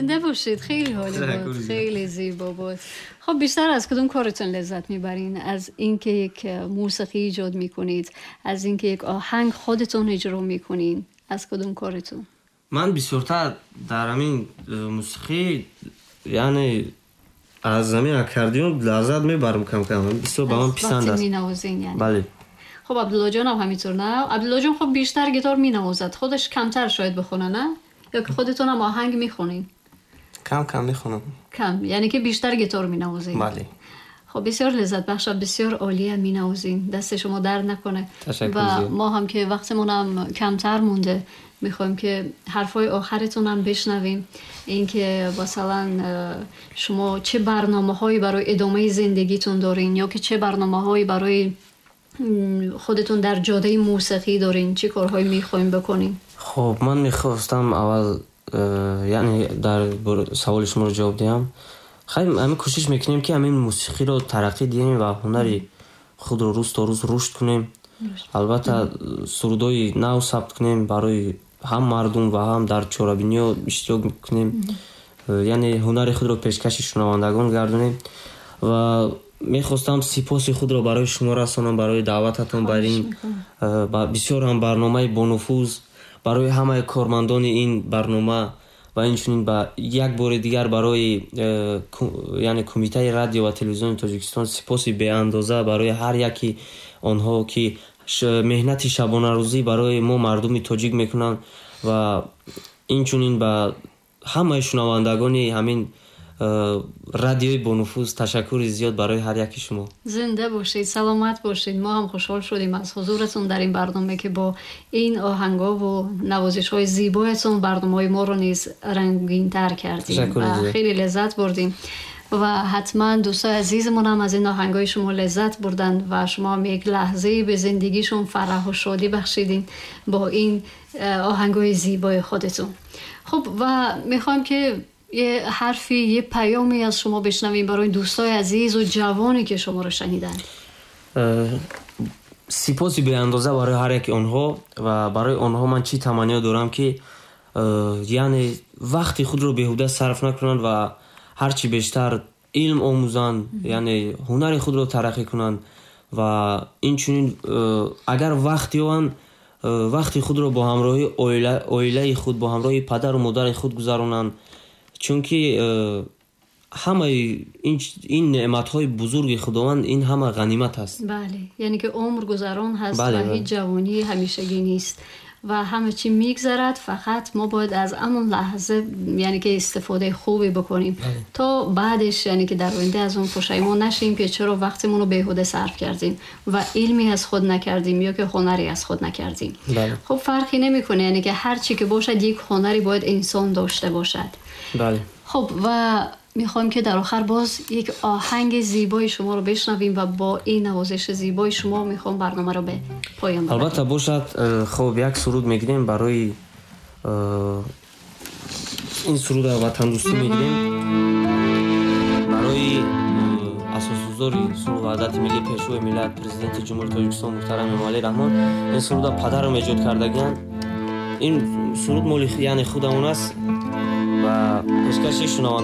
زنده باشید. خیلی عالی بود، خیلی زیبا بود. خب بیشتر از کدوم کارتون لذت میبرین؟ از اینکه یک موسیقی ایجاد میکنید، از اینکه یک آهنگ خودتون اجرا میکنین، از کدوم کارتون؟ من бисёртар дар ҳамин мусиқӣ, яъне аз ҳамин аккордеон лаззат мебарам кам-кам. Бисёр ба ман писанд аст. مینوازین یعنی؟ бале. خب عبدالله جان هم همینطور، نه؟ عبدالله جان خب بیشتر گیتار مینوازد، خودش کمتر شاید بخونه، نه؟ یا که خودتون هم آهنگ میخونین؟ کم کم میخونم. کم، یعنی که بیشتر گیتار مینوازین؟ بله. خب بسیار لذت بخش، بسیار عالی مینوازین، دست شما درد نکنه. تشکر. و ما هم که وقتمون هم کمتر مونده، میخوایم که حرفای آخرتون هم بشنویم، اینکه مثلا شما چه برنامه هایی برای ادامه زندگیتون دارین یا که چه برنامه هایی برای خودتون در جاده موسیقی دارین، چه کارهایی میخوایم بکنین؟ خب من میخواستم اول یعنی در سوال شما رو جواب دهم. خیلی همین کوشش میکنیم که همین موسیقی رو ترقی دهیم و هنری خود رو روز تا روز رشد کنیم. албатта, сурудҳои нав сабт кунем, барои ҳам мардум ва ҳам дар чорабиниҳо иштирок кунем, яъне ҳунари худро пешкаши шунавандагон гардонем. Ва мехостам сипоси худро барои шумо расонам барои даъвататон бар ин бисёр ҳам барномаи бонуфуз, барои ҳамаи кормандони ин барнома ва инчунин ба як бори дигар барои яъне Кумитаи радио ва телевизиони Тоҷикистон сипоси беандоза барои ҳар яки онҳо, ки меҳнати шабонарӯзӣ барои мо мардуми тоҷик мекунанд, ва инчунин ба ҳамаи шунавандагони ҳамин радиои бонуфуз ташаккури зиёд барои ҳар яки шумо. زنده باشید، سلامت باشید. ما هم خوشحال شدیم از حضورتون در این برنامه که با این آهنگا و نوازش های زیبایتون برنامه های ما رو نیز رنگین تر کردیم و خیلی لذت بردیم و حتما دوستای عزیزمون هم از این آهنگای شما لذت بردن و شما هم یک لحظه به زندگیشون فرح و شادی بخشیدین با این آهنگای زیبای خودتون. خب و میخوایم که یه حرفی، یه پیامی از شما بشنویم برای دوستای عزیز و جوانی که شما رو شنیدن. сипоси беандоза барои ҳар яки онҳо. Ва барои онҳо ман чӣ таманниё дорам, ки яъне вақти худро беҳуда сарф накунанд ва ҳарчи бештар илм омӯзанд, яъне ҳунари худро тараққӣ кунанд ва инчунин агар вақт ёбанд, вақти худро бо ҳамроҳи оилаи худ, бо ҳамроҳи падару модари худ гузаронанд, чунки ҳамаи ин неъматҳои бузурги Худованд, ин ҳама ғанимат аст. бале, яъне ки умр гузарон ҳаст ва ҳеҷ ҷавонӣ ҳамешагӣ нест و همه چی میگذرد. فقط ما باید از همون لحظه یعنی که استفاده خوبی بکنیم تا بعدش یعنی که در آینده از اون پشیمان نشیم که چرا وقتمون رو بیهوده صرف کردیم و علمی از خود نکردیم یا که هنری از خود نکردیم. خب فرقی نمیکنه، یعنی که هر چی که باشد یک هنری باید انسان داشته باشد. خب و میخوایم که در آخر باز یک آهنگ زیبای شما رو بشنویم و با این نوازش زیبای شما میخوام برنامه رو به پایان ببریم. албатта бошад. Хуб, як суруд мегирем барои ин суруд ватандӯстӣ мегирем барои асосгузори сулҳу ваҳдати миллӣ, Пешвои миллат, Президенти Ҷумҳури Тоҷикистон муҳтарам Эмомалӣ Раҳмон. Ин суруда падарам эҷод кардагианд. Ин суруд моли яъне худамон аст ва пешкаши шунавандагон.